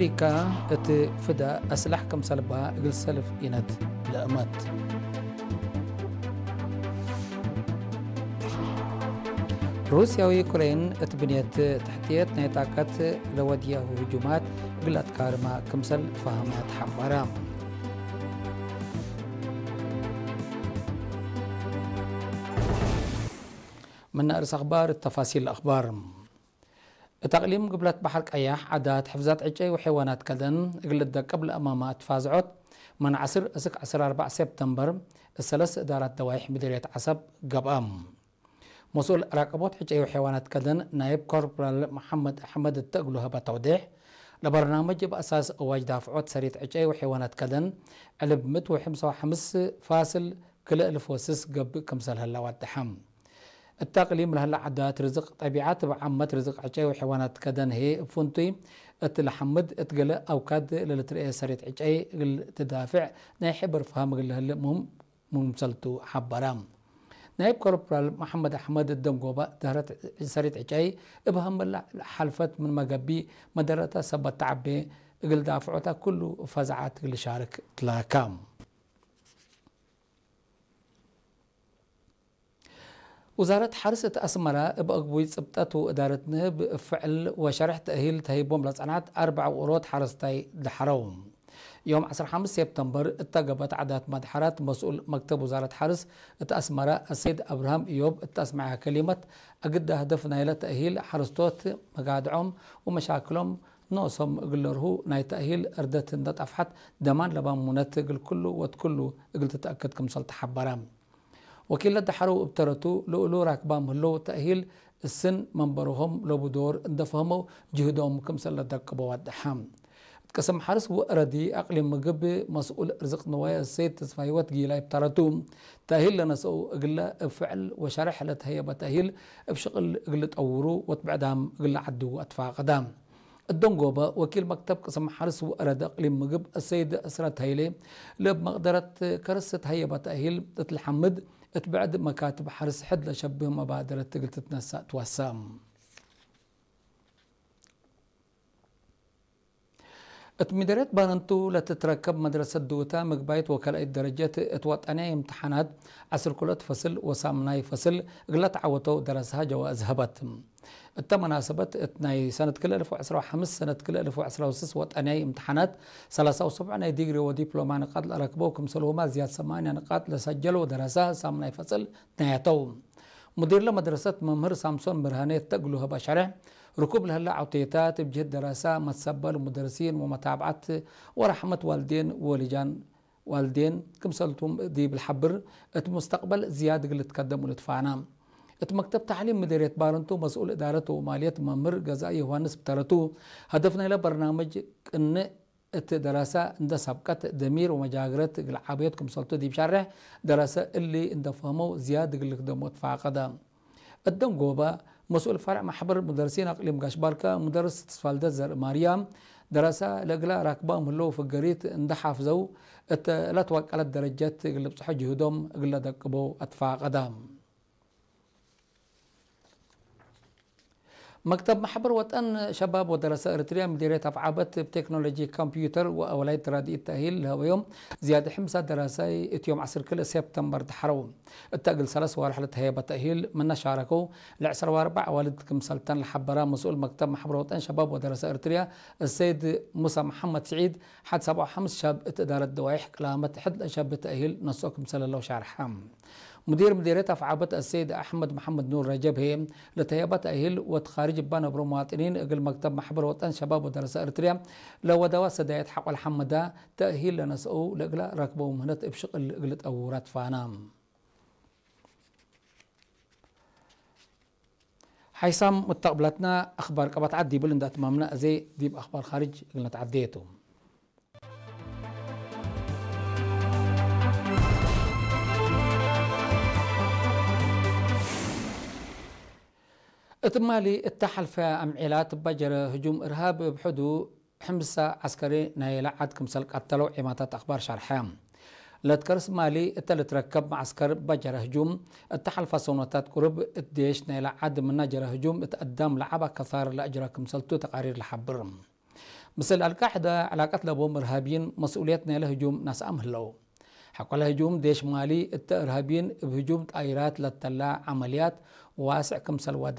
ኣፍሪካ እቲ ፍዳ ኣስላሕ ከም ሰልባ እግል ሰልፍ ኢነት ለእመት። ሩስያዊ ዩክሬን እቲ ብንየት ትሕትየት ናይ ጣቀት ለወድያሁ ህጁማት እግል ኣትካርማ ክምሰል ፈሃማ ተሓባራ። من أرس أخبار التفاصيل الأخبار. እታ ኣቕሊም ግብለት ባሕር ቀያሕ ዓዳት ሕፍዛት ዕጨይ ወሐይዋናት ከደን እግል ደቀብ ለእማማ እትፋዝዖት መን ዓስር እስክ ዓስር ኣርባዕ ሴፕተምበር እሰለስ እዳራት ደዋይሕ ምድርየት ዓሰብ ገብኣ። መስኡል ራቀቦት ዕጨይ ወሐይዋናት ከደን ናይብ ኮርፖራል መሓመድ ኣሕመድ እተእግሉ ህበ ተውዴሕ ለበርናመጅ እብ ኣሳስ እዋጅ ዳፍዖት ሰሪት ዕጨይ ወሐይዋናት ከደን ዕልብ ምት ወሕምሳ ወሐምስ ፋስል ክልእ ልፎስስ ገብእ ክምሰል ህላ ዋድሓ። እታ እቅሊም ለህላ ዓዳት ርዝቅ ጠቢዓት እብ ዓመት ርዝቅ ዕጨይ ወሐይዋናት ከደን ህዬ እብ ፍንቱይ እት ለሐምድ እት ገለ ኣውካድ ለልትርኤ ሰሪት ዕጨይ እግል ትዳፍዕ ናይ ሕበር ፍሃም እግል ለህልእ ሙህም ሙምሰልቱ ሐበረ። ናይብ ኮርፖራል መሐመድ ኣሕመድ እደንጎበ ደህረት ሰሪት ዕጨይ እብ ሀመላ ሓልፈት ምን መገቢ መደረተ ሰበት ተዓቤ እግል ዳፍዖታ ኩሉ ፈዛዓት እግል ሻርክ ትላካ። ውዛረት ሓርስ እት ኣስመራ እብ ኣግቡይ ጽብጠት ወእዳረት ንህብ ፍዕል ወሸርሕ ተእሂል ተሂቦም ለጸንዓት ኣርባዕ ውቅሮት ሓረስታይ ደሓረው። ዮም ዓሰርተ ሓሙሽተ ሴፕተምበር እተገበት ዓዳት መድሓራት መስኡል መክተብ ውዛረት ሓርስ እት ኣስመራ ኣሰይድ ኣብርሃም እዮብ እት ኣስመዐያ ከሊመት ኣግዳ ህደፍ ናይለ ተእሂል ሓረስቶት መጋድዖም ወመሻክሎም ኖሶም እግል ለርሁ ናይ ተእሂል እርደት እንደ ጠፍሐት ደማን ለባሙነት እግል ኩሉ ወትኩሉ እግል ትተእክድ ክምሰል ተሓበረ። ወኪል ለደሓረው እብ ተረቱ ልኡሉ ራክባም ህለው ተእሂል እስን መንበርሆም ለቡ ዶር እንደ ፈህመው ጅህዶም ክምሰል ለደቅቦ ዋድሓ። እት ቅስም ሓርስ ወእረዲ ኣቅሊም ምግብ መስኡል ርዝቅ ንዋይ እሰይድ ተስፋ ህይወት ጊላይ እብ ተረቱ ተእሂል ለነሰኡ እግለ እብ ፍዕል ወሸርሕ ለተህየበ ተእሂል እብ ሽቅል እግል ጠውሩ ወትብዕዳም እግል ዓድው ኣትፋቀዳ። እደንጎበ ወኪል መክተብ ቅስም ሓርስ ወእረድ እቅሊም ምግብ እሰይድ እስረት ሃይሌ ለብ መቅደረት ከርስ ተህየበ ተእሂል እት ለሐምድ እት ብዕድ መካትብ ሓርስ ሕድ ለሸብህ መባደረት እግል ትትነሳእ ትወሰ። እት ሚደርየት ባረንቱ ለትትረከብ መድረሰት ድውታ ምግባይት ወከልኣይት ደረጀት እት ወጠንያይ እምትሓናት ዓስር ኩለት ፈስል ወሳምናይ ፈስል እግለ ተዓወተው ደረሰሃ ጀዋእዝ ሀበት። እተ መናሰበት እት ናይ ሰነት ክልተ እልፍ ወዕስራ ወሓምስ ሰነት ክልተ እልፍ ወዕስራ ወስስ ወጠንያይ እምትሓናት ሰላሳ ወሰብዑ ናይ ዲግሪ ወዲፕሎማ ንቃጥ ለረክበው ክምሰልሁማ ዝያድ ሰማንያ ንቃጥ ለሰጀለው ደረሰ ሳምናይ ፈስል ናያተው። ሙዲር ለመድረሰት መምህር ሳምሶን ብርሃኔ እተእግሉ ህበ ሸርሕ ርኩብ ለህለ ዓውቴታት እብ ጅህት ደረሳ መትሰበል ሙደርሲን ወመታብዓት ወረሕመት ዋልዴን ወልጃን ዋልዴን ክምሰልቱም ዲብ ለሐብር እት ሙስተቅበል ዝያድ እግል ልትከደሙ ልትፋና። እት መክተብ ታዕሊም ምድርየት ባረንቱ መስኡል እዳረት ወማልየት መምህር ገዛኢ ዮሃንስ ብተረቱ ሀደፍ ናይለ በርናምጅ ቅንእ እት ደረሳ እንደ ሳብቀት ደሚር ወመጃግረት እግል ዓብዮት ክምሰልቱ ዲብ ሸርሕ ደረሰ እሊ እንደ ፈህመው ዝያድ እግል ልክደሞ ትፋቀደ። እደንጎበ መስኡል ፈርዕ ማሕበር ሙደርሲን ኣቅሊም ጋሽ ባርካ ሙደርስ ተስፋልደት ዘርእማርያም ደረሳ ለእግላ ራክባም ህለው ፍገሪት እንደ ሓፍዘው እተ ለትወቀለት ደረጀት እግል ልብጽሖ ጅህዶም እግለ ደቅቦ ኣትፋቀዳ። መክተብ ማሕበር ወጠን ሸባብ ወደረሰ እርትርያ ምዲርየት ኣፍዓበት እብ ቴክኖሎጂ ኮምፒውተር ወኣወላይት ራድኢት ተእሂል ለህበዮም ዝያድ ሕምሳ ደረሳይ እትዮም ዓስር ክልተ ሴፕተምበር ተሓረው። እተ እግል ሰለስ ዋርሕ ለተህየበ ተእሂል ምነ ሻረከው ለዕስራ ወኣርባዕ ኣዋልድ ክምሰልተን ለሓበራ መስኡል መክተብ ማሕበር ወጠን ሸባብ ወደረሰ እርትርያ እሰይድ ሙሳ መሓመድ ስዒድ ሓድ ሰብዓ ሓምስ ሸብ እት እዳረት ደዋይሕ ቅላመት ሕድ ለሸብ ተእሂል ነስኦ ክምሰለለው ሻርሐ። ሙዲር ምዲርየት ኣፍዓበት ኣሰይድ ኣሕመድ መሓመድ ኑር ረጀብ ህዬ ለተህየበ ተእሂል ወትኻርጅ እባ ነብሮ መዋጥኒን እግል መክተብ ማሕበር ወጠን ሸባብ ወደረሰ እርትርያ ለወደዋ ሰዳየት ሓቆል ሓመዳ ተእሂል ለነስአው ለእግላ ረክበው ምህነት እብ ሽቅል እግል ጠውራ ትፋና። ሓይሳም ሙተቅብላትና ኣኽባር ቀባት ዓድ ይብል እንዳትማምና እዜ ዲብ ኣኽባር ኻርጅ እግል ነትዓደየቱ። እት ማሊ እተ ሐልፈ ኣምዒላ ትባጀረ ህጁም እርሃብ እብ ሕዱ ሕምሳ ዐስከሪ ናይ ለዓድ ክምሰል ቀተለው ዒማታት ኣኽባር ሻርሐ። ለትከርስ ማሊ እተ ልትረከብ መዓስከር ባጀረ ህጁም እተ ሐልፋ ሰኖታት ቁርብ እት ዴሽ ናይ ለዓድ ምና ጀረ ህጁም እት ኣዳም ለዓባ ከሳር ለአጅረ ክምሰልቱ ተቃሪር ለሐብር። ምስል ኣልቃዕዳ ዕላቀት ለቦም እርሃብይን መስኡልየት ናይለ ህጁም ናስኣም ህለው። ሓቆላ ህጁም ዴሽ ማሊ እተ እርሃብይን እብ ህጁም ጣይራት ለተላ ዓመልያት ዋስዕ ክምሰል ዋደ